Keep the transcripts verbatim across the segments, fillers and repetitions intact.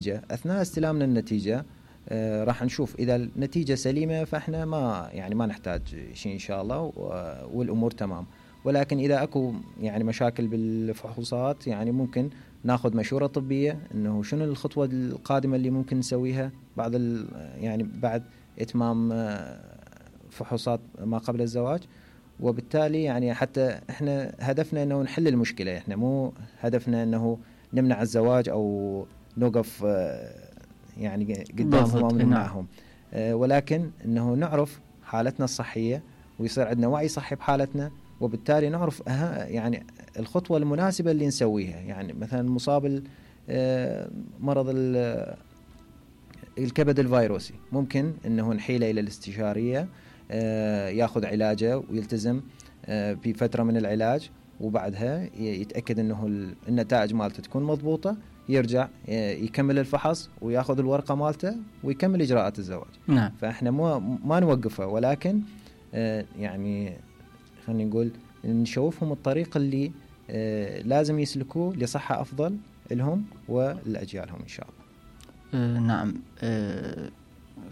أثناء استلامنا النتيجة آه راح نشوف إذا النتيجة سليمة فإحنا ما يعني ما نحتاج شيء إن شاء الله والأمور تمام. ولكن إذا أكو يعني مشاكل بالفحوصات يعني ممكن ناخذ مشورة طبية إنه شنو الخطوة القادمة اللي ممكن نسويها بعد يعني بعد إتمام فحوصات ما قبل الزواج. وبالتالي يعني حتى إحنا هدفنا إنه نحل المشكلة، إحنا مو هدفنا إنه نمنع الزواج أو نوقف يعني قدامهم أو نمنعهم، ولكن إنه نعرف حالتنا الصحية ويصير عندنا وعي صحي بحالتنا، وبالتالي نعرف يعني الخطوة المناسبة اللي نسويها. يعني مثلا مصاب مرض الكبد الفيروسي ممكن إنه نحيله إلى الاستشارية ياخذ علاجه ويلتزم بفترة من العلاج، وبعدها يتأكد إنه النتائج مالته تكون مضبوطة، يرجع يكمل الفحص وياخذ الورقة مالته ويكمل إجراءات الزواج. نعم. فإحنا مو ما نوقفه، ولكن يعني خلينا نقول نشوفهم الطريق اللي لازم يسلكوه لصحة أفضل لهم ولأجيالهم إن شاء الله. نعم.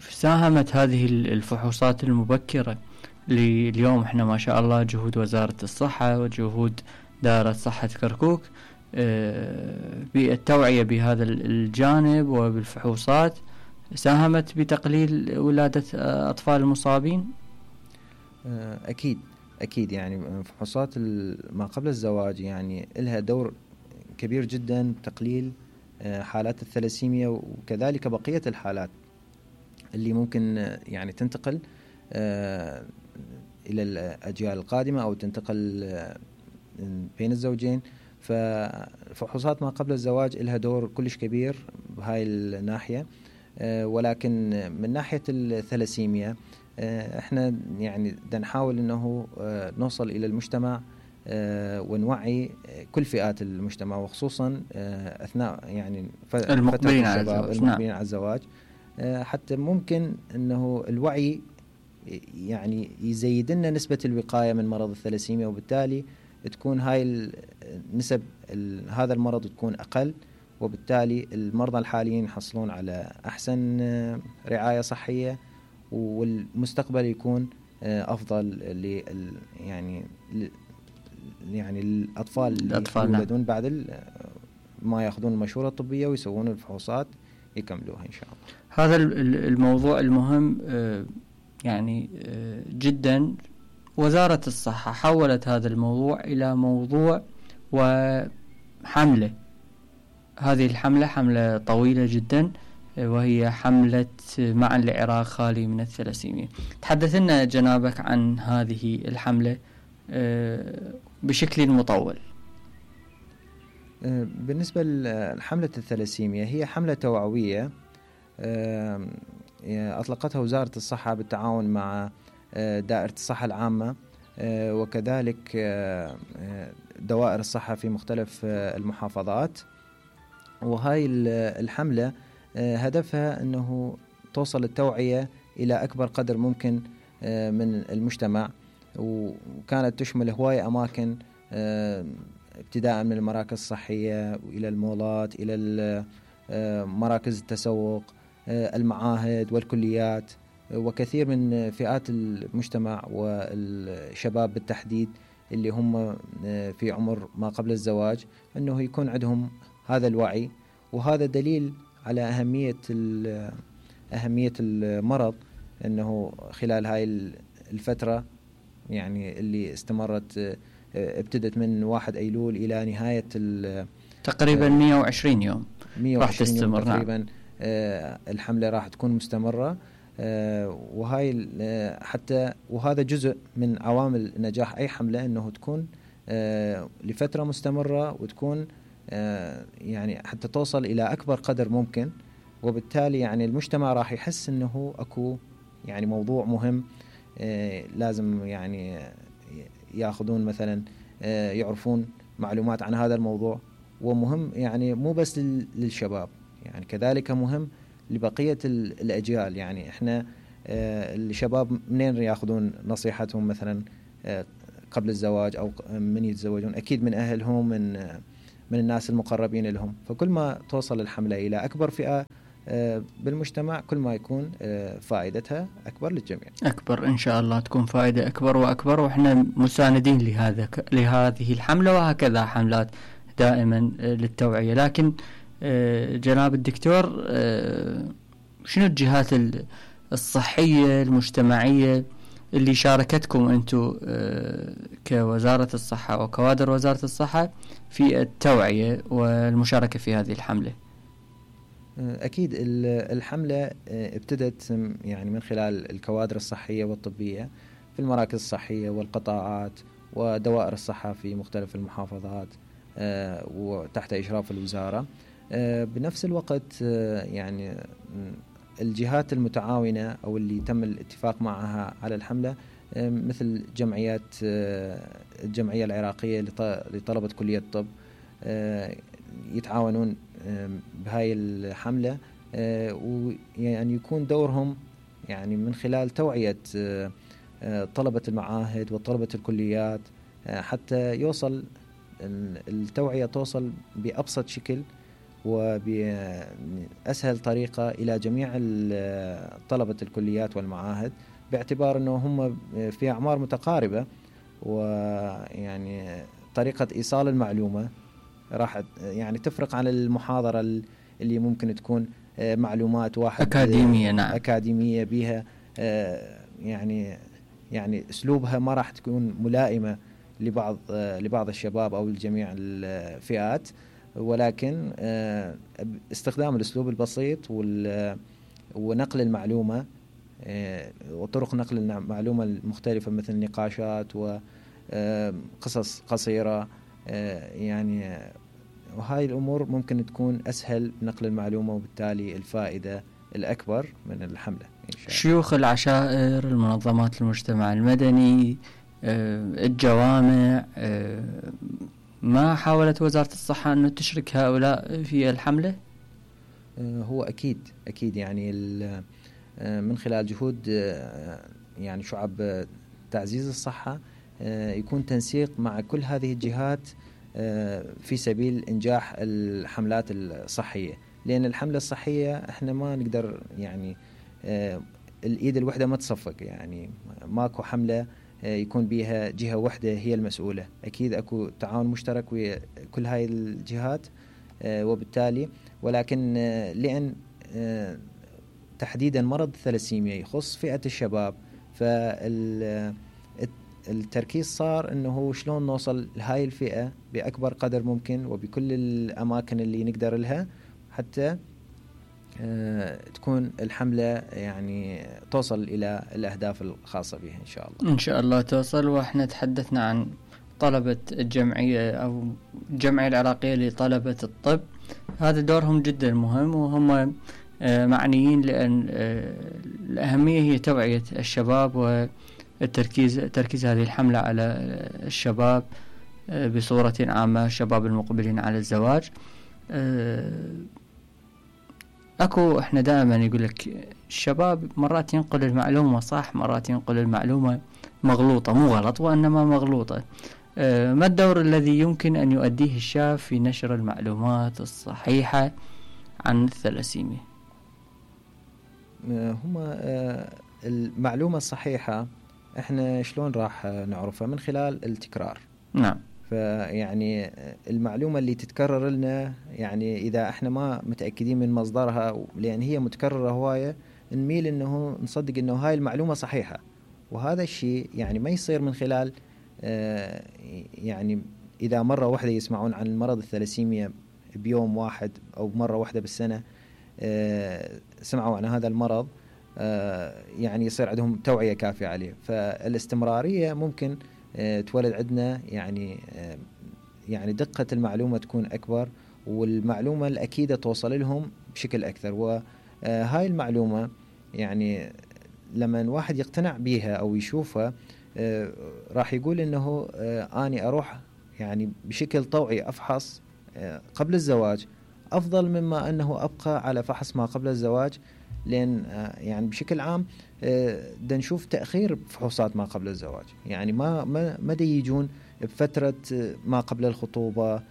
ساهمت هذه الفحوصات المبكرة اليوم احنا ما شاء الله جهود وزارة الصحة وجهود دائرة صحة كركوك بالتوعية بهذا الجانب وبالفحوصات، ساهمت بتقليل ولادة أطفال المصابين؟ أكيد أكيد يعني فحوصات ما قبل الزواج يعني لها دور كبير جدا تقليل حالات الثلاسيميا وكذلك بقية الحالات اللي ممكن يعني تنتقل إلى الأجيال القادمة أو تنتقل بين الزوجين. ففحوصات ما قبل الزواج لها دور كلش كبير بهاي الناحية. ولكن من ناحية الثلاسيميا احنا يعني بدنا نحاول انه نوصل الى المجتمع ونوعي كل فئات المجتمع، وخصوصا اثناء يعني المقبلين على الزواج. المقبلين على الزواج حتى ممكن انه الوعي يعني يزيد لنا نسبة الوقاية من مرض الثلاسيميا، وبالتالي تكون هاي النسب هذا المرض تكون أقل، وبالتالي المرضى الحاليين يحصلون على أحسن رعاية صحية والمستقبل يكون أفضل ل يعني يعني الأطفال اللي يولدون بعد ما يأخذون المشورة الطبية ويسوون الفحوصات يكملوها إن شاء الله. هذا الموضوع المهم يعني جدا. وزارة الصحة حولت هذا الموضوع إلى موضوع وحملة. هذه الحملة حملة طويلة جدا، وهي حملة معا لعراق خالي من الثلاسيميا. تحدث لنا جنابك عن هذه الحملة بشكل مطول. بالنسبة لحملة الثلاسيميا هي حملة توعوية أطلقتها وزارة الصحة بالتعاون مع دائرة الصحة العامة وكذلك دوائر الصحة في مختلف المحافظات. وهاي الحملة هدفها أنه توصل التوعية إلى أكبر قدر ممكن من المجتمع، وكانت تشمل هواية أماكن ابتداء من المراكز الصحية وإلى المولات إلى مراكز التسوق المعاهد والكليات وكثير من فئات المجتمع والشباب بالتحديد اللي هم في عمر ما قبل الزواج، أنه يكون عندهم هذا الوعي. وهذا دليل على أهمية أهمية المرض، أنه خلال هاي الفترة يعني اللي استمرت ابتدت من واحد أيلول إلى نهاية تقريبا مئة وعشرين يوم راح تستمر تقريبا. الحملة راح تكون مستمرة، وهاي حتى وهذا جزء من عوامل نجاح أي حملة، أنه تكون لفترة مستمرة وتكون يعني حتى توصل إلى أكبر قدر ممكن. وبالتالي يعني المجتمع راح يحس أنه أكو يعني موضوع مهم لازم يعني يأخذون مثلا يعرفون معلومات عن هذا الموضوع، ومهم يعني مو بس للشباب، يعني كذلك مهم لبقية الأجيال. يعني إحنا الشباب منين يأخذون نصيحتهم مثلا قبل الزواج أو من يتزوجون؟ أكيد من أهلهم، من من الناس المقربين لهم. فكل ما توصل الحملة إلى أكبر فئة بالمجتمع كل ما يكون فائدتها أكبر للجميع. أكبر إن شاء الله تكون فائدة أكبر وأكبر، وإحنا مساندين لهذا لهذه الحملة، وهكذا حملات دائما للتوعية. لكن جناب الدكتور، شنو الجهات الصحية المجتمعية اللي شاركتكم أنتم كوزارة الصحة وكوادر وزارة الصحة في التوعية والمشاركة في هذه الحملة؟ أكيد الحملة ابتدت يعني من خلال الكوادر الصحية والطبية في المراكز الصحية والقطاعات ودوائر الصحة في مختلف المحافظات وتحت إشراف الوزارة. بنفس الوقت يعني الجهات المتعاونة أو اللي تم الاتفاق معها على الحملة مثل جمعيات الجمعية العراقية لطلبة كلية الطب يتعاونون بهاي الحملة، ويعني يكون دورهم يعني من خلال توعية طلبة المعاهد وطلبة الكليات حتى يوصل التوعية توصل بأبسط شكل وبأسهل طريقة إلى جميع طلبة الكليات والمعاهد، باعتبار أنه هم في أعمار متقاربة، ويعني طريقة إيصال المعلومة راح يعني تفرق عن المحاضرة اللي ممكن تكون معلومات واحد أكاديمية. نعم. أكاديمية بها يعني يعني أسلوبها ما راح تكون ملائمة لبعض لبعض الشباب أو لجميع الفئات، ولكن استخدام الأسلوب البسيط ونقل المعلومة وطرق نقل المعلومة المختلفة مثل نقاشات وقصص قصيرة، يعني وهاي الأمور ممكن تكون أسهل نقل المعلومة وبالتالي الفائدة الأكبر من الحملة إن شاء الله. شيوخ العشائر، المنظمات المجتمع المدني، الجوامع، ما حاولت وزارة الصحة أن تشرك هؤلاء في الحملة؟ هو أكيد أكيد يعني من خلال جهود يعني شعب تعزيز الصحة يكون تنسيق مع كل هذه الجهات في سبيل إنجاح الحملات الصحية، لأن الحملة الصحية إحنا ما نقدر يعني الإيد الوحدة ما تصفق، يعني ماكو حملة يكون بيها جهة واحدة هي المسؤولة، أكيد أكو تعاون مشترك وكل هاي الجهات، وبالتالي ولكن لأن تحديدا مرض الثلاسيميا يخص فئة الشباب، فالتركيز صار أنه شلون نوصل لهاي الفئة بأكبر قدر ممكن وبكل الأماكن اللي نقدر لها حتى تكون الحملة يعني توصل إلى الأهداف الخاصة بها إن شاء الله. إن شاء الله توصل. وإحنا تحدثنا عن طلبة الجمعية أو الجمعية العراقية لطلبة الطب، هذا دورهم جدا مهم وهم معنيين، لأن الأهمية هي توعية الشباب والتركيز تركيز هذه الحملة على الشباب بصورة عامة، الشباب المقبلين على الزواج. أكو إحنا دائما يقول لك الشباب مرات ينقل المعلومة صح، مرات ينقل المعلومة مغلوطة، مو غلط وإنما مغلوطة. ما الدور الذي يمكن أن يؤديه الشاب في نشر المعلومات الصحيحة عن الثلاسيميا؟ هما المعلومة الصحيحة إحنا شلون راح نعرفها؟ من خلال التكرار. نعم. فيعني المعلومة اللي تتكرر لنا، يعني إذا إحنا ما متأكدين من مصدرها لأن هي متكررة هواية، نميل إنه نصدق إنه هاي المعلومة صحيحة، وهذا الشيء يعني ما يصير من خلال يعني إذا مرة واحدة يسمعون عن المرض الثلاسيميا بيوم واحد أو مرة واحدة بالسنة سمعوا عن هذا المرض يعني يصير عندهم توعية كافية عليه. فالاستمرارية ممكن تولد عندنا يعني يعني دقة المعلومة تكون أكبر، والمعلومة الأكيدة توصل لهم بشكل أكثر. وهاي المعلومة يعني لما واحد يقتنع بيها أو يشوفها راح يقول إنه أني أروح يعني بشكل طوعي أفحص قبل الزواج أفضل مما أنه أبقى على فحص ما قبل الزواج، لأن يعني بشكل عام دا نشوف تأخير بفحوصات ما قبل الزواج، يعني ما ما ما دا يجون بفترة ما قبل الخطوبة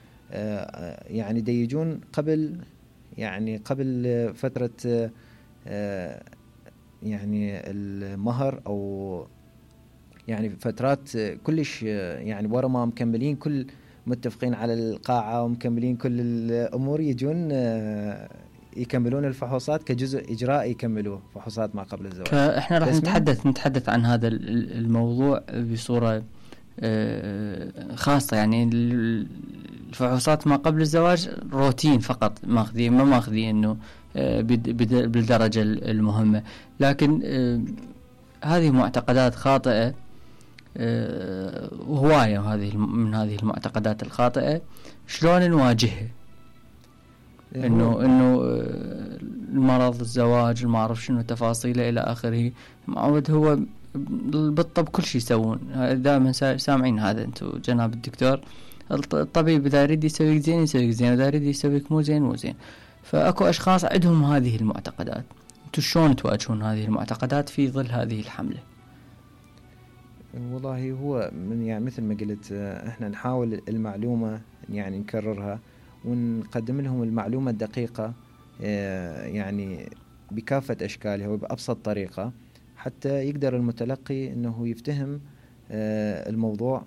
يعني ديجون قبل يعني قبل فترة يعني المهر أو يعني فترات كلش يعني ورا ما مكملين كل متفقين على القاعة ومكملين كل الأمور، يجون يكملون الفحوصات كجزء إجرائي، يكملوه فحوصات ما قبل الزواج. احنا راح نتحدث نتحدث عن هذا الموضوع بصورة خاصة. يعني الفحوصات ما قبل الزواج روتين فقط ماخذين، ما ماخذين انه بالدرجة المهمة، لكن هذه معتقدات خاطئة وهواية. هذه من هذه المعتقدات الخاطئة شلون نواجهها؟ انه انه المرض، الزواج، ما اعرف شنو تفاصيله الى اخره. معود هو بالطب كل شيء يسوون، دائما سامعين هذا انتم جناب الدكتور. الطبيب اذا يريد يسويك زين يسويك زين، اذا يريد يسويك مو زين مو زين. فاكو اشخاص عندهم هذه المعتقدات، انتم شلون تواجهون هذه المعتقدات في ظل هذه الحملة؟ والله هو من يعني مثل ما قلت، احنا نحاول المعلومة يعني نكررها ونقدم لهم المعلومة الدقيقة يعني بكافة أشكالها وبأبسط طريقة، حتى يقدر المتلقي أنه يفتهم الموضوع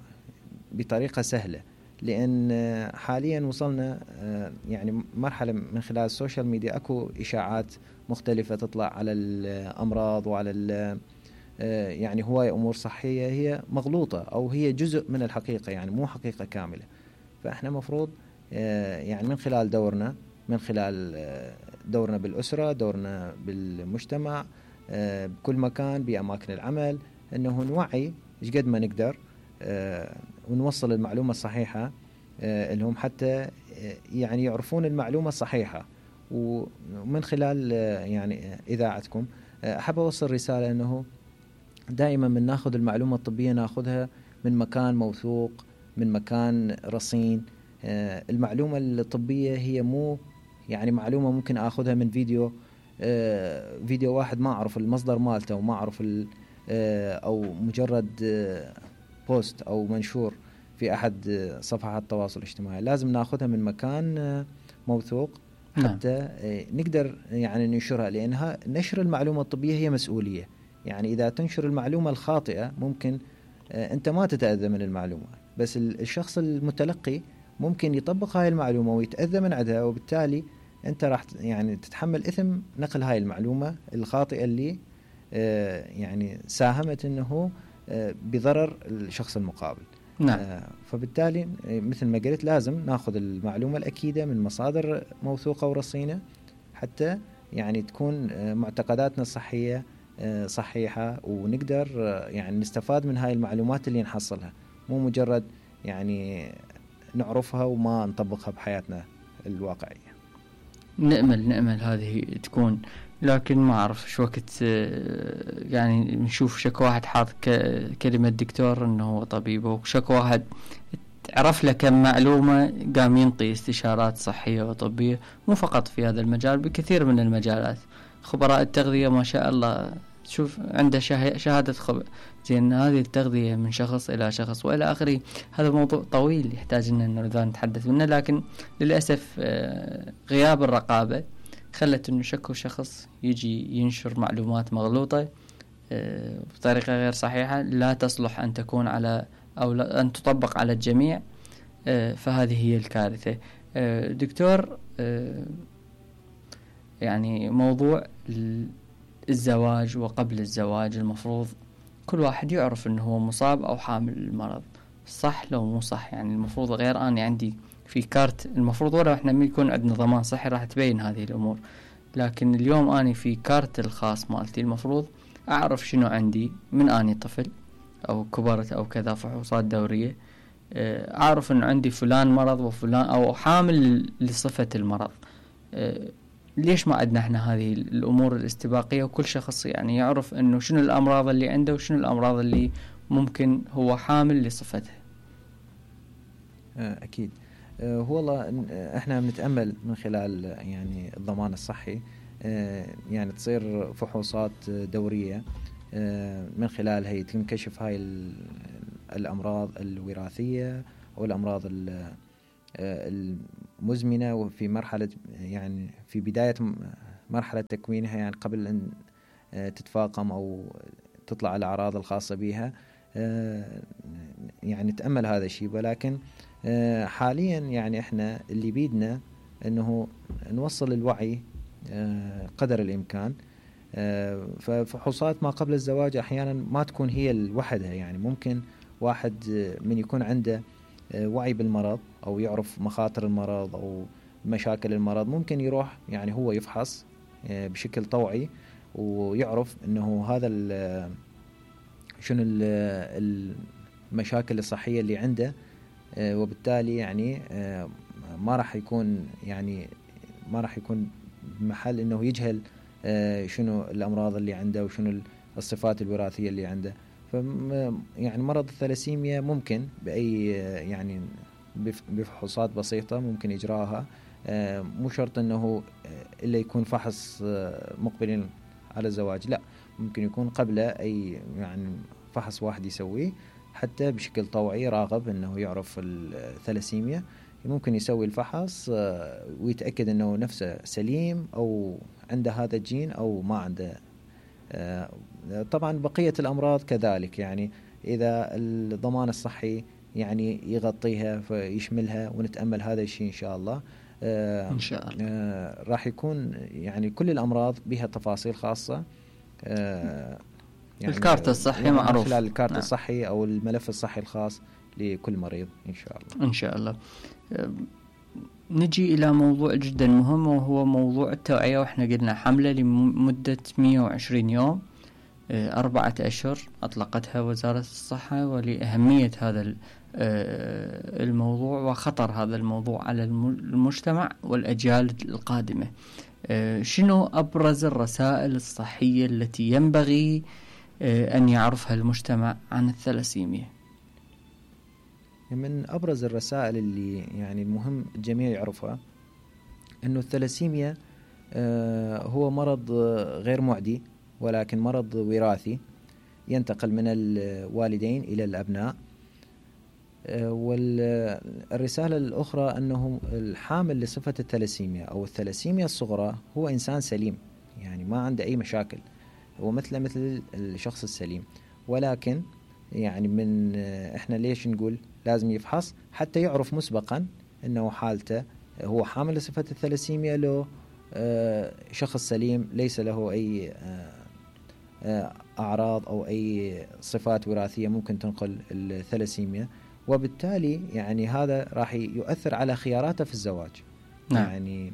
بطريقة سهلة. لأن حاليا وصلنا يعني مرحلة من خلال السوشيال ميديا أكو إشاعات مختلفة تطلع على الأمراض وعلى يعني هواية أمور صحية هي مغلوطة أو هي جزء من الحقيقة، يعني مو حقيقة كاملة. فإحنا مفروض يعني من خلال دورنا من خلال دورنا بالأسرة، دورنا بالمجتمع، بكل مكان، بأماكن العمل، أنه نوعي إيش قد ما نقدر ونوصل المعلومة الصحيحة لهم، حتى يعني يعرفون المعلومة الصحيحة. ومن خلال يعني إذاعتكم أحب أوصل رسالة أنه دائما من ناخذ المعلومة الطبية ناخذها من مكان موثوق، من مكان رصين. المعلومة الطبية هي مو يعني معلومة ممكن أخذها من فيديو فيديو واحد ما أعرف المصدر مالته وما أعرف أو مجرد بوست أو منشور في أحد صفحات التواصل الاجتماعي. لازم ناخذها من مكان موثوق حتى نقدر يعني ننشرها، لأنها نشر المعلومة الطبية هي مسؤولية. يعني إذا تنشر المعلومة الخاطئة ممكن أنت ما تتأذى من المعلومة، بس الشخص المتلقي ممكن يطبق هاي المعلومة ويتأذى من عندها، وبالتالي أنت راح يعني تتحمل إثم نقل هاي المعلومة الخاطئة اللي يعني ساهمت أنه بضرر الشخص المقابل. نعم. فبالتالي مثل ما قلت لازم ناخذ المعلومة الأكيدة من مصادر موثوقة ورصينة، حتى يعني تكون معتقداتنا الصحية صحيحة، ونقدر يعني نستفاد من هاي المعلومات اللي نحصلها، مو مجرد يعني نعرفها وما نطبقها بحياتنا الواقعية. نأمل نأمل هذه تكون، لكن ما أعرف شو وقت يعني نشوف شك واحد حاط كلمة دكتور إنه هو طبيب، وشك واحد عرف له كم معلومة قام ينطي استشارات صحية وطبية، مو فقط في هذا المجال، بكثير من المجالات. خبراء التغذية ما شاء الله شوف عنده شهادة خبر زين، هذه التغذية من شخص إلى شخص وإلى آخره. هذا موضوع طويل يحتاج أن نتحدث منه، لكن للأسف غياب الرقابة خلت أنه شكو شخص يجي ينشر معلومات مغلوطة بطريقة غير صحيحة، لا تصلح أن تكون على أو أن تطبق على الجميع. فهذه هي الكارثة. دكتور، يعني موضوع الزواج وقبل الزواج المفروض كل واحد يعرف انه هو مصاب او حامل المرض، صح لو مو صح؟ يعني المفروض غير أنا عندي في كارت، المفروض ولا احنا من يكون عندنا ضمان صحي راح تبين هذه الامور، لكن اليوم اني في كارت الخاص مالتي المفروض اعرف شنو عندي من اني طفل او كبرت او كذا فحوصات دورية، اعرف انه عندي فلان مرض وفلان او حامل لصفة المرض. ليش ما عندنا احنا هذه الامور الاستباقية وكل شخص يعني يعرف انه شنو الامراض اللي عنده وشنو الامراض اللي ممكن هو حامل لصفتها؟ اكيد. هو والله احنا بنتأمل من خلال يعني الضمان الصحي يعني تصير فحوصات دورية من خلالها يتنكشف هاي الامراض الوراثية او الامراض المزمنة وفي مرحلة يعني في بداية مرحلة تكوينها، يعني قبل أن تتفاقم أو تطلع الأعراض الخاصة بها، يعني تأمل هذا الشيء. ولكن حاليا يعني احنا اللي بيدنا انه نوصل الوعي قدر الامكان. ففحوصات ما قبل الزواج احيانا ما تكون هي لوحدها، يعني ممكن واحد من يكون عنده وعي بالمرض او يعرف مخاطر المرض او مشاكل المرض، ممكن يروح يعني هو يفحص بشكل طوعي ويعرف انه هذا شنو المشاكل الصحية اللي عنده، وبالتالي يعني ما راح يكون يعني ما راح يكون محل انه يجهل شنو الامراض اللي عنده وشنو الصفات الوراثية اللي عنده. ف يعني مرض الثلاسيميا ممكن باي يعني بفحوصات بسيطة ممكن اجراها، مو شرط انه الا يكون فحص مقبلين على الزواج، لا، ممكن يكون قبله اي يعني فحص واحد يسويه حتى بشكل طوعي راغب انه يعرف الثلاسيميا. ممكن يسوي الفحص ويتأكد انه نفسه سليم او عنده هذا الجين او ما عنده. طبعا بقية الامراض كذلك، يعني اذا الضمان الصحي يعني يغطيها فيشملها، ونتأمل هذا الشيء ان شاء الله. ان شاء الله راح يكون يعني كل الامراض بها تفاصيل خاصة، يعني الكارت الصحي يعني معروف خلال الكارت نعم. الصحي أو الملف الصحي الخاص لكل مريض إن شاء الله. إن شاء الله. نجي إلى موضوع جدا مهم، وهو موضوع التوعية. وإحنا قلنا حملة لمدة مئة وعشرين يوم، أربعة أشهر أطلقتها وزارة الصحة، ولأهمية هذا الموضوع وخطر هذا الموضوع على المجتمع والأجيال القادمة. شنو أبرز الرسائل الصحية التي ينبغي أن يعرفها المجتمع عن الثلاسيميا؟ من أبرز الرسائل اللي يعني المهم الجميع يعرفها أنه الثلاسيميا هو مرض غير معدي، ولكن مرض وراثي ينتقل من الوالدين إلى الأبناء. والرسالة الأخرى أنه الحامل لصفة الثلاسيميا أو الثلاسيميا الصغرى هو إنسان سليم، يعني ما عنده أي مشاكل، هو مثل مثل الشخص السليم. ولكن يعني من إحنا ليش نقول لازم يفحص حتى يعرف مسبقا أنه حالته هو حامل لصفة الثلاسيميا، له شخص سليم ليس له أي أعراض أو أي صفات وراثية ممكن تنقل الثلاسيميا. وبالتالي يعني هذا راح يؤثر على خياراته في الزواج. نعم. يعني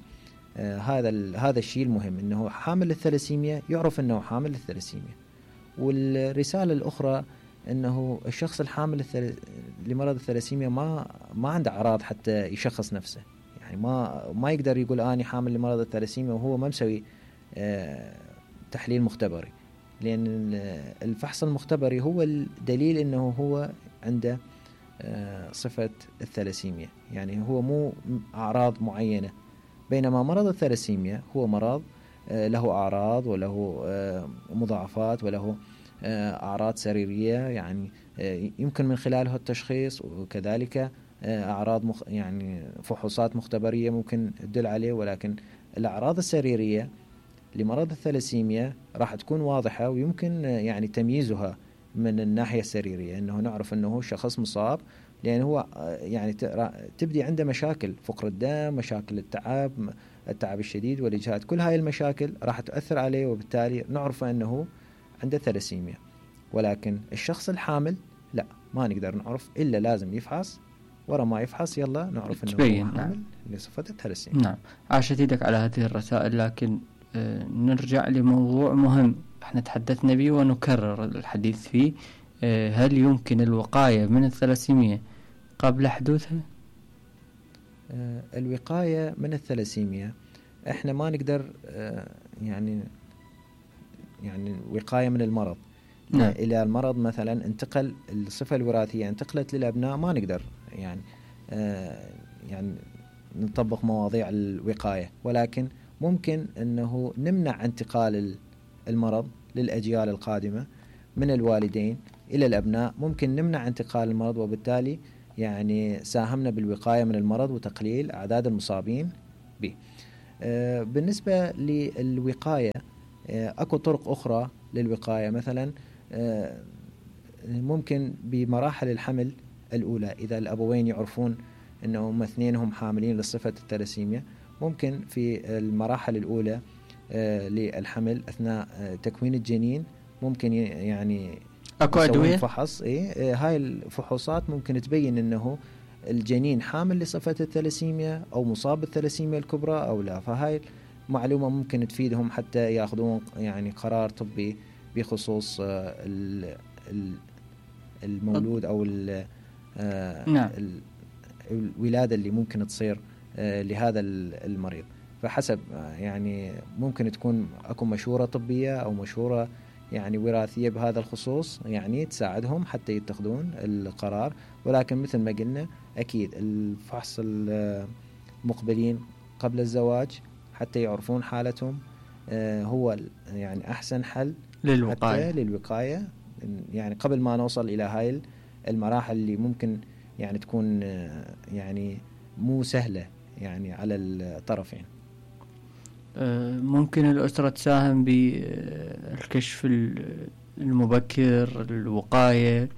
آه هذا هذا الشيء المهم، انه حامل الثلاسيميا يعرف انه حامل الثلاسيميا. والرسالة الاخرى انه الشخص الحامل الثل... لمرض الثلاسيميا ما ما عنده اعراض حتى يشخص نفسه، يعني ما ما يقدر يقول اني حامل لمرض الثلاسيميا وهو ما مسوي آه تحليل مختبري، لان الفحص المختبري هو الدليل انه هو عنده صفة الثلاسيميا، يعني هو مو أعراض معينة. بينما مرض الثلاسيميا هو مرض له أعراض وله مضاعفات وله أعراض سريرية، يعني يمكن من خلالها التشخيص، وكذلك أعراض مخ يعني فحوصات مختبرية ممكن تدل عليه. ولكن الأعراض السريرية لمرض الثلاسيميا راح تكون واضحة، ويمكن يعني تمييزها من الناحية السريرية، أنه نعرف أنه شخص مصاب، لأن هو يعني تبدي عنده مشاكل فقر الدم، مشاكل التعب التعب الشديد والإجهاد، كل هاي المشاكل راح تؤثر عليه، وبالتالي نعرف أنه عنده ثلاسيميا. ولكن الشخص الحامل لا، ما نقدر نعرف إلا لازم يفحص، ورا ما يفحص يلا نعرف أنه تبين. حامل نعم. لصفة الثلاسيميا. نعم، عاشت يدك على هذه الرسائل. لكن آه نرجع لموضوع مهم احنا تحدثنا به ونكرر الحديث فيه. آه هل يمكن الوقاية من الثلاسيميا قبل حدوثها؟ آه الوقاية من الثلاسيميا احنا ما نقدر آه يعني يعني وقاية من المرض. نعم. إلى المرض مثلا انتقل الصفة الوراثية انتقلت للأبناء، ما نقدر يعني آه يعني نطبق مواضيع الوقاية، ولكن ممكن أنه نمنع انتقال المرض للأجيال القادمة من الوالدين إلى الأبناء. ممكن نمنع انتقال المرض، وبالتالي يعني ساهمنا بالوقاية من المرض وتقليل أعداد المصابين به. بالنسبة للوقاية أكو طرق أخرى للوقاية، مثلا ممكن بمراحل الحمل الأولى إذا الأبوين يعرفون أنهم اثنينهم حاملين لصفة الثلاسيميا، ممكن في المراحل الأولى للحمل أثناء تكوين الجنين ممكن يعني أكو أدوية فحص. إيه هاي الفحوصات ممكن تبين أنه الجنين حامل لصفة الثلاسيميا أو مصاب بالثلاسيميا الكبرى أو لا. فهاي معلومة ممكن تفيدهم حتى يأخذون يعني قرار طبي بخصوص المولود أو نعم. الولادة اللي ممكن تصير لهذا المريض. فحسب يعني ممكن تكون أكو مشورة طبية أو مشورة يعني وراثية بهذا الخصوص يعني تساعدهم حتى يتخذون القرار. ولكن مثل ما قلنا أكيد الفحص المقبلين قبل الزواج حتى يعرفون حالتهم هو يعني أحسن حل للوقاية. حتى للوقاية يعني قبل ما نوصل إلى هاي المراحل اللي ممكن يعني تكون يعني مو سهلة يعني على الطرفين. ممكن الأسرة تساهم بالكشف المبكر، الوقاية،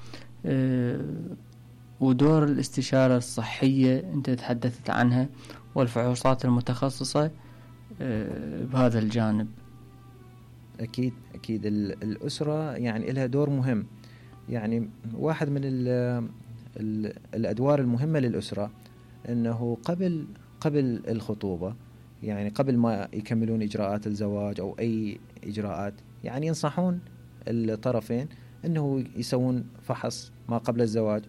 ودور الاستشارة الصحية أنت تحدثت عنها والفحوصات المتخصصة بهذا الجانب. أكيد أكيد الأسرة يعني لها دور مهم. يعني واحد من ال ال الأدوار المهمة للأسرة أنه قبل قبل الخطوبة يعني قبل ما يكملون إجراءات الزواج أو أي إجراءات يعني ينصحون الطرفين أنه يسوون فحص ما قبل الزواج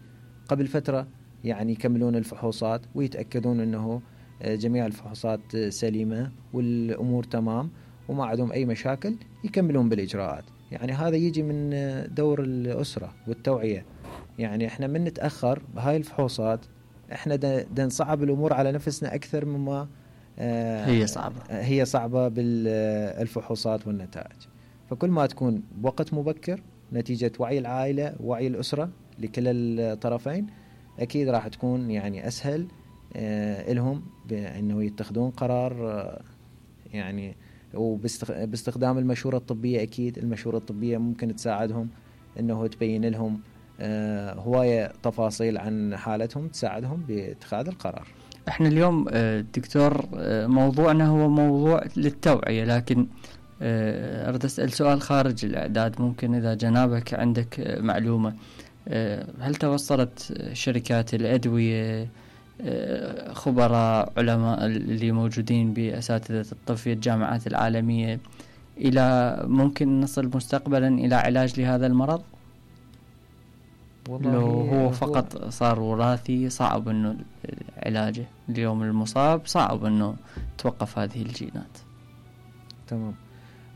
قبل فترة، يعني يكملون الفحوصات ويتأكدون أنه جميع الفحوصات سليمة والأمور تمام وما عندهم أي مشاكل، يكملون بالإجراءات. يعني هذا يجي من دور الأسرة والتوعية. يعني إحنا من نتأخر بهاي الفحوصات إحنا دا نصعب الأمور على نفسنا أكثر مما هي صعبة هي صعبة بالفحوصات والنتائج. فكل ما تكون بوقت مبكر نتيجة وعي العائلة ووعي الأسرة لكل الطرفين أكيد راح تكون يعني أسهل لهم بأنه يتخذون قرار يعني. وباستخدام المشورة الطبية أكيد المشورة الطبية ممكن تساعدهم أنه تبين لهم هواية تفاصيل عن حالتهم تساعدهم باتخاذ القرار. احنا اليوم دكتور موضوعنا هو موضوع للتوعية، لكن أريد أسأل سؤال خارج الإعداد. ممكن إذا جنابك عندك معلومة، هل توصلت شركات الأدوية، خبراء علماء اللي موجودين بأساتذة الطب في الجامعات العالمية إلى ممكن نصل مستقبلا إلى علاج لهذا المرض؟ لو هو فقط هو صار وراثي صعب أنه علاجه، اليوم المصاب صعب أنه توقف هذه الجينات. تمام.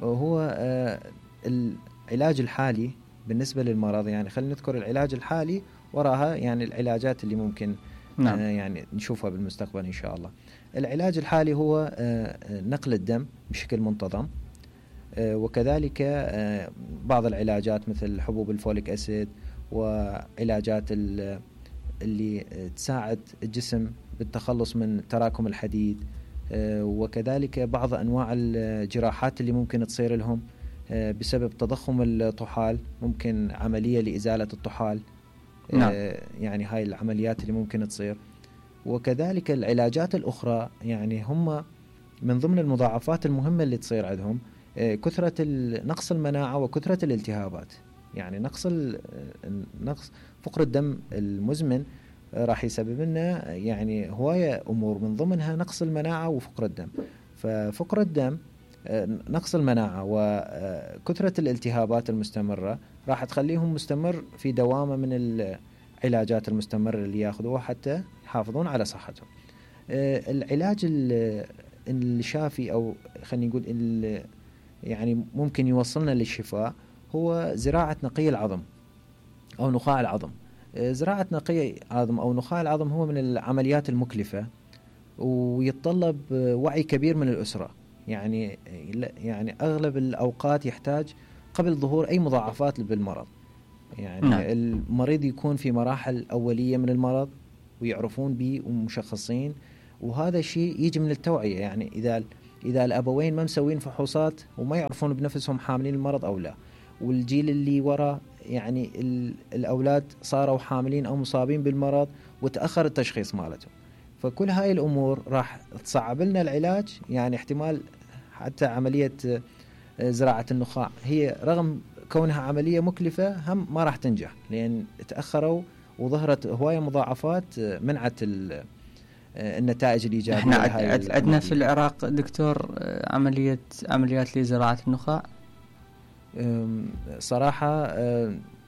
هو آه العلاج الحالي بالنسبة للمرض يعني خلينا نذكر العلاج الحالي وراها يعني العلاجات اللي ممكن نعم. آه يعني نشوفها بالمستقبل إن شاء الله. العلاج الحالي هو آه نقل الدم بشكل منتظم، آه وكذلك آه بعض العلاجات مثل حبوب الفوليك أسيد وعلاجات اللي تساعد الجسم بالتخلص من تراكم الحديد، وكذلك بعض أنواع الجراحات اللي ممكن تصير لهم بسبب تضخم الطحال، ممكن عملية لإزالة الطحال. نعم. يعني هاي العمليات اللي ممكن تصير. وكذلك العلاجات الأخرى يعني هم من ضمن المضاعفات المهمة اللي تصير عندهم كثرة نقص المناعة وكثرة الالتهابات. يعني نقص نقص فقر الدم المزمن راح يسبب لنا يعني هواية أمور، من ضمنها نقص المناعة وفقر الدم. ففقر الدم، نقص المناعة وكثرة الالتهابات المستمرة راح تخليهم مستمر في دوامة من العلاجات المستمرة اللي ياخذوها حتى يحافظون على صحتهم. العلاج الشافي أو خلينا نقول يعني ممكن يوصلنا للشفاء هو زراعة نقي العظم أو نخاع العظم. زراعة نقي العظم أو نخاع العظم هو من العمليات المكلفة ويتطلب وعي كبير من الأسرة. يعني يعني أغلب الأوقات يحتاج قبل ظهور أي مضاعفات بالمرض. يعني نعم. المريض يكون في مراحل أولية من المرض ويعرفون به ومشخصين. وهذا الشيء يجي من التوعية، يعني إذا إذا الأبوين ما مسوين فحوصات وما يعرفون بنفسهم حاملين المرض أو لا، والجيل اللي وراء يعني الأولاد صاروا حاملين أو مصابين بالمرض وتأخر التشخيص مالتهم، فكل هاي الأمور راح تصعب لنا العلاج. يعني احتمال حتى عملية زراعة النخاع هي رغم كونها عملية مكلفة هم ما راح تنجح، لأن تأخروا وظهرت هواية مضاعفات منعت النتائج الإيجابية. احنا عندنا في العراق دكتور عملية عمليات لزراعة النخاع صراحة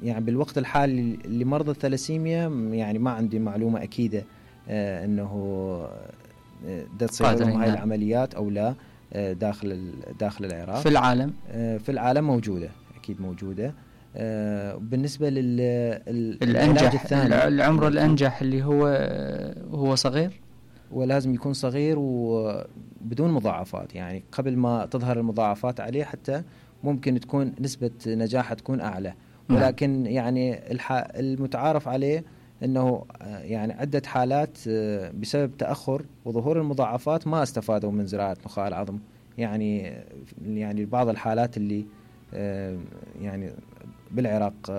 يعني بالوقت الحالي لمرضى الثلاسيميا يعني ما عندي معلومة أكيدة أنه تصير لهم هاي العمليات أو لا داخل داخل العراق. في العالم في العالم موجودة أكيد موجودة. بالنسبة للعلاج الثاني العمر الأنجح اللي هو هو صغير، ولازم يكون صغير وبدون مضاعفات، يعني قبل ما تظهر المضاعفات عليه حتى ممكن تكون نسبة نجاحه تكون أعلى. ولكن يعني المتعارف عليه أنه يعني عدة حالات بسبب تأخر وظهور المضاعفات ما استفادوا من زراعة نخاع العظم. يعني يعني بعض الحالات اللي يعني بالعراق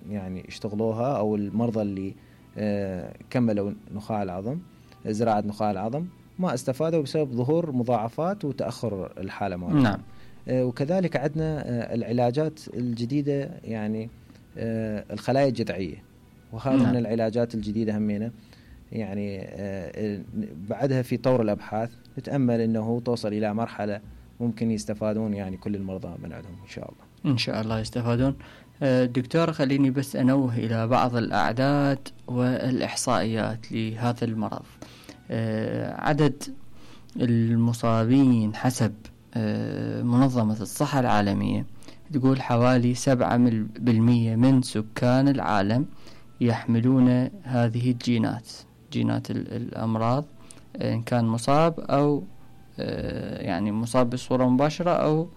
يعني اشتغلوها أو المرضى اللي كملوا نخاع العظم زراعة نخاع العظم ما استفادوا بسبب ظهور مضاعفات وتأخر الحالة مالهم. نعم. وكذلك عندنا العلاجات الجديدة، يعني الخلايا الجذعية، وهذا نعم. من العلاجات الجديدة همينة يعني بعدها في طور الأبحاث نتأمل أنه توصل إلى مرحلة ممكن يستفادون يعني كل المرضى من عندهم إن شاء الله. إن شاء الله يستفادون. دكتور خليني بس أنوه إلى بعض الأعداد والإحصائيات لهذا المرض. عدد المصابين حسب منظمة الصحة العالمية تقول حوالي سبعة بالمية من سكان العالم يحملون هذه الجينات، جينات الأمراض، إن كان مصاب أو يعني مصاب بصورة مباشرة أو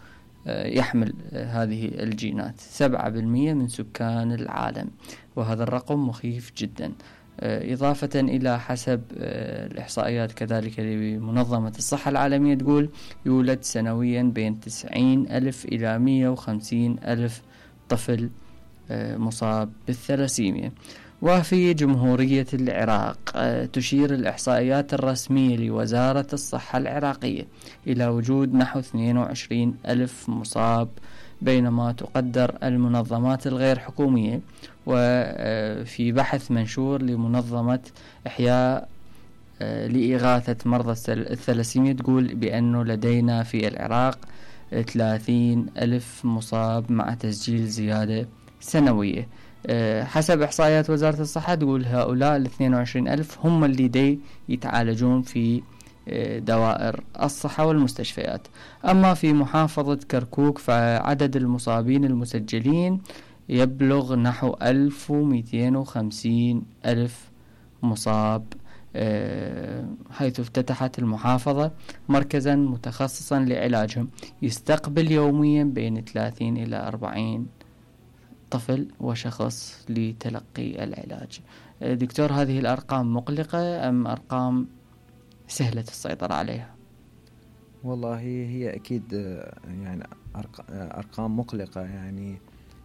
يحمل هذه الجينات. سبعة بالمية من سكان العالم، وهذا الرقم مخيف جدا. إضافة إلى حسب الإحصائيات كذلك لمنظمة الصحة العالمية تقول يولد سنويا بين تسعين ألف إلى مئة وخمسين ألف طفل مصاب بالثلاسيميا. وفي جمهورية العراق تشير الإحصائيات الرسمية لوزارة الصحة العراقية إلى وجود نحو اثنين وعشرين ألف مصاب، بينما تقدر المنظمات الغير حكومية وفي بحث منشور لمنظمة إحياء لإغاثة مرضى الثلاسيميا تقول بأنه لدينا في العراق ثلاثين ألف مصاب مع تسجيل زيادة سنوية. حسب إحصائيات وزارة الصحة تقول هؤلاء الاثنين وعشرين ألف هم اللي دي يتعالجون في دوائر الصحة والمستشفيات. أما في محافظة كركوك فعدد المصابين المسجلين يبلغ نحو ألف ومئتين وخمسين ألف مصاب، حيث افتتحت المحافظة مركزا متخصصا لعلاجهم يستقبل يوميا بين ثلاثين إلى أربعين طفل وشخص لتلقي العلاج. دكتور هذه الأرقام مقلقة أم أرقام سهلة السيطرة عليها؟ والله هي أكيد يعني أرقام مقلقة، يعني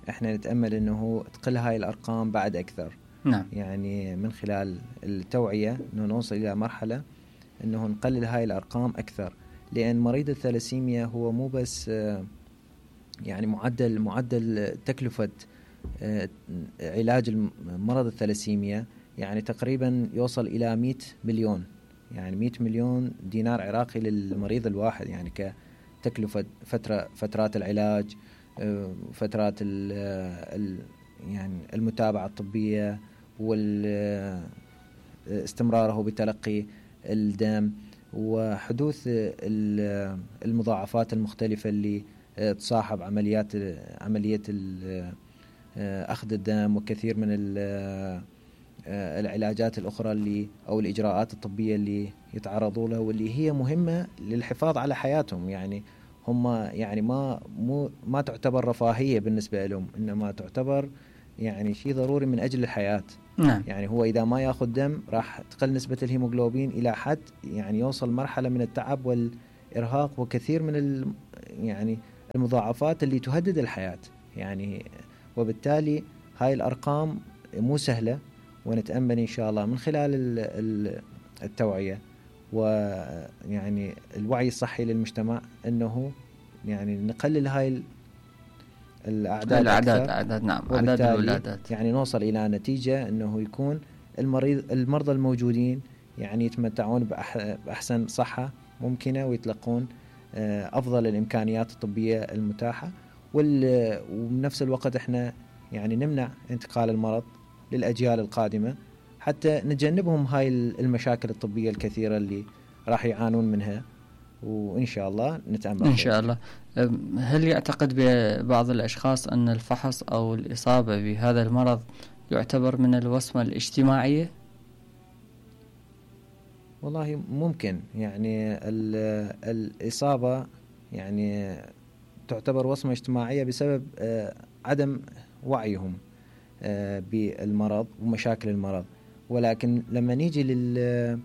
إحنا نتأمل أنه تقل هاي الأرقام بعد أكثر. نعم. يعني من خلال التوعية أنه نوصل إلى مرحلة أنه نقلل هاي الأرقام أكثر، لأن مريض الثلاسيميا هو مو بس يعني معدل معدل تكلفة علاج مرض الثلاسيميا يعني تقريبا يوصل إلى مئة مليون، يعني مئة مليون دينار عراقي للمريض الواحد، يعني كتكلفة فترة فترات العلاج، فترات ال يعني المتابعة الطبية واستمراره بتلقي الدم وحدوث المضاعفات المختلفة اللي تصاحب عمليات عملية أخذ الدم وكثير من العلاجات الأخرى اللي أو الإجراءات الطبية اللي يتعرضوا لها واللي هي مهمة للحفاظ على حياتهم. يعني هم يعني ما مو ما تعتبر رفاهية بالنسبة لهم، إنما تعتبر يعني شيء ضروري من أجل الحياة. نعم. يعني هو إذا ما يأخذ دم راح تقل نسبة الهيموغلوبين إلى حد يعني يوصل مرحلة من التعب والإرهاق وكثير من ال يعني المضاعفات اللي تهدد الحياة يعني. وبالتالي هاي الأرقام مو سهلة، ونتأمل إن شاء الله من خلال التوعية ويعني الوعي الصحي للمجتمع أنه يعني نقلل هاي الأعداد الأعداد أعداد نعم أعداد الولادات، يعني نوصل إلى نتيجة أنه يكون المريض المرضى الموجودين يعني يتمتعون بأحسن صحة ممكنة ويتلقون أفضل الإمكانيات الطبية المتاحة، وبنفس الوقت إحنا يعني نمنع انتقال المرض للأجيال القادمة حتى نتجنبهم هاي المشاكل الطبية الكثيرة اللي راح يعانون منها، وإن شاء الله نتأمل إن شاء الله. هل يعتقد بعض الأشخاص أن الفحص أو الإصابة بهذا المرض يعتبر من الوصمة الاجتماعية؟ والله ممكن يعني الإصابة يعني تعتبر وصمة اجتماعية بسبب عدم وعيهم بالمرض ومشاكل المرض، ولكن لما نيجي لل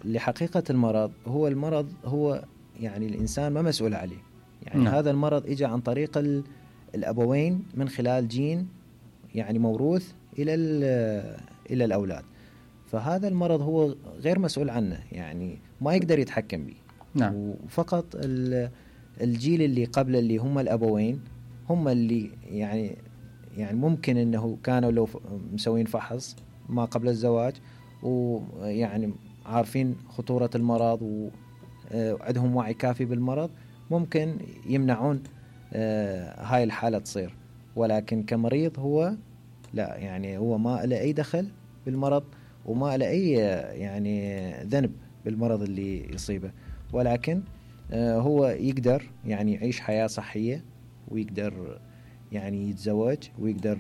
لحقيقة المرض، هو المرض هو يعني الإنسان ما مسؤول عليه يعني. نعم. هذا المرض إجا عن طريق الأبوين من خلال جين يعني موروث إلى إلى الأولاد، فهذا المرض هو غير مسؤول عنه يعني ما يقدر يتحكم به. نعم. وفقط الجيل اللي قبل اللي هم الأبوين هم اللي يعني يعني ممكن أنه كانوا لو مسوين فحص ما قبل الزواج ويعني عارفين خطورة المرض وعندهم وعي كافي بالمرض ممكن يمنعون هاي الحالة تصير، ولكن كمريض هو لا يعني هو ما له أي دخل بالمرض وما له أي يعني ذنب بالمرض اللي يصيبه، ولكن هو يقدر يعني يعيش حياة صحية ويقدر يعني يتزوج ويقدر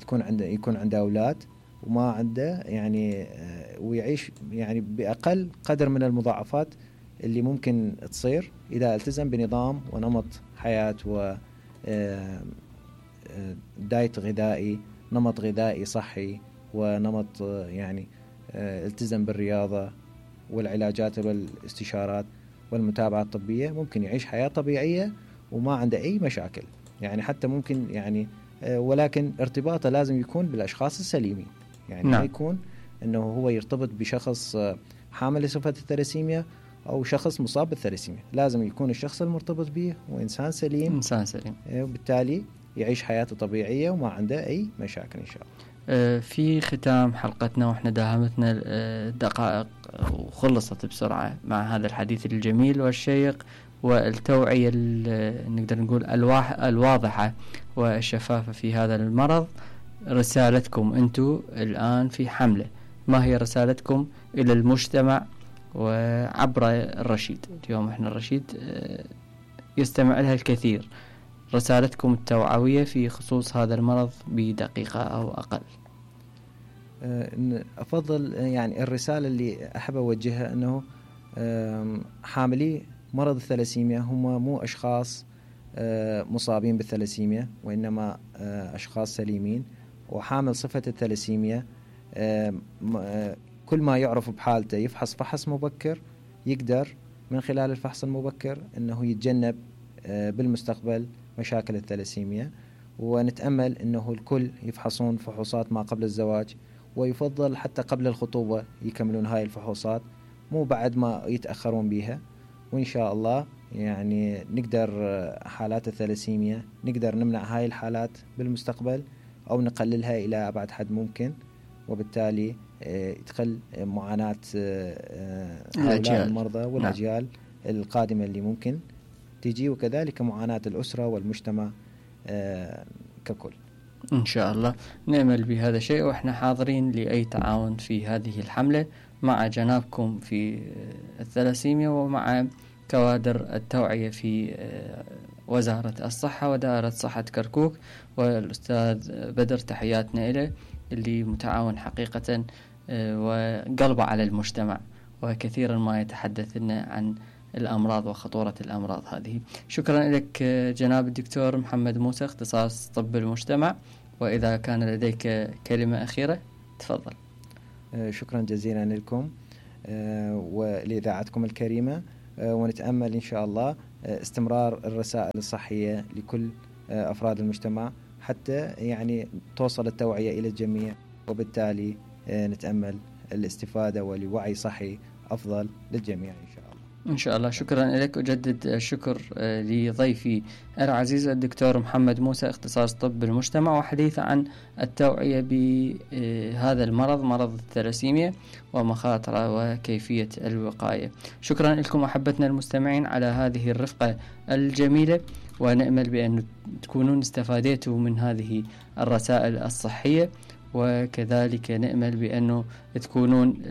يكون عنده يكون عنده أولاد وما عنده يعني ويعيش يعني بأقل قدر من المضاعفات اللي ممكن تصير إذا التزم بنظام ونمط حياة و دايت غذائي نمط غذائي صحي ونمط يعني التزم بالرياضة والعلاجات والاستشارات والمتابعة الطبية، ممكن يعيش حياة طبيعية وما عنده أي مشاكل يعني. حتى ممكن يعني ولكن ارتباطه لازم يكون بالأشخاص السليمين يعني. نعم. ما يكون أنه هو يرتبط بشخص حامل لصفة الثلاسيميا أو شخص مصاب بالثلاسيميا، لازم يكون الشخص المرتبط به وإنسان سليم إنسان سليم وبالتالي يعيش حياته طبيعية وما عنده أي مشاكل إن شاء الله. في ختام حلقتنا وإحنا داهمتنا دقائق وخلصت بسرعة مع هذا الحديث الجميل والشيق والتوعية نقدر نقول الواضحة والشفافة في هذا المرض، رسالتكم أنتم الآن في حملة، ما هي رسالتكم إلى المجتمع وعبر الرشيد؟ اليوم إحنا الرشيد يستمع لها الكثير، رسالتكم التوعوية في خصوص هذا المرض بدقيقة أو أقل. أفضل يعني الرسالة اللي أحب أوجهها أنه حاملي مرض الثلاسيميا هم مو أشخاص مصابين بالثلاسيميا وإنما أشخاص سليمين، وحامل صفة الثلاسيميا كل ما يعرف بحالته يفحص فحص مبكر يقدر من خلال الفحص المبكر أنه يتجنب بالمستقبل مشاكل الثلاسيميا. ونتأمل أنه الكل يفحصون فحوصات ما قبل الزواج، ويفضل حتى قبل الخطوبة يكملون هاي الفحوصات مو بعد ما يتأخرون بيها، وإن شاء الله يعني نقدر حالات الثلاسيميا نقدر نمنع هاي الحالات بالمستقبل أو نقللها إلى أبعد حد ممكن، وبالتالي تقل معاناة هؤلاء المرضى والأجيال نعم. القادمة اللي ممكن تجي، وكذلك معاناة الأسرة والمجتمع ككل. إن شاء الله نأمل بهذا الشيء، وإحنا حاضرين لأي تعاون في هذه الحملة مع جنابكم في الثلاسيميا ومع كوادر التوعية في وزارة الصحة ودائرة صحة كركوك، والأستاذ بدر تحياتنا إليه اللي متعاون حقيقة وقلبه على المجتمع وكثيرا ما يتحدث لنا عن الأمراض وخطورة الأمراض هذه. شكرا لك جناب الدكتور محمد موسى، اختصاص طب المجتمع وإذا كان لديك كلمة أخيرة تفضل. شكرا جزيلا لكم ولإذاعتكم الكريمة، ونتأمل إن شاء الله استمرار الرسائل الصحية لكل أفراد المجتمع حتى يعني توصل التوعية إلى الجميع، وبالتالي نتأمل الاستفادة ولوعي صحي أفضل للجميع إن شاء الله. إن شاء الله. شكرا لك. أجدد الشكر لضيفي العزيز الدكتور محمد موسى، اختصاص طب المجتمع، وحديث عن التوعية بهذا المرض، مرض الثلاسيميا، ومخاطره وكيفية الوقاية. شكرا لكم أحبتنا المستمعين على هذه الرفقة الجميلة، ونأمل بأن تكونون استفادتوا من هذه الرسائل الصحية، وكذلك نأمل بأنه تكونون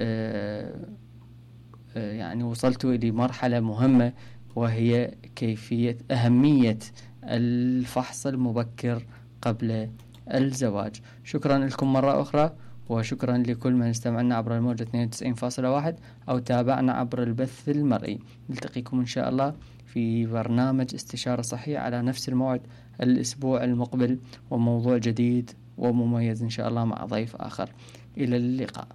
يعني وصلتوا إلى مرحلة مهمة، وهي كيفية أهمية الفحص المبكر قبل الزواج. شكرا لكم مرة أخرى، وشكرا لكل من استمعنا عبر الموجة اثنين وتسعين فاصلة واحد أو تابعنا عبر البث المرئي. نلتقيكم إن شاء الله في برنامج استشارة صحية على نفس الموعد الأسبوع المقبل، وموضوع جديد ومميز إن شاء الله مع ضيف آخر. إلى اللقاء.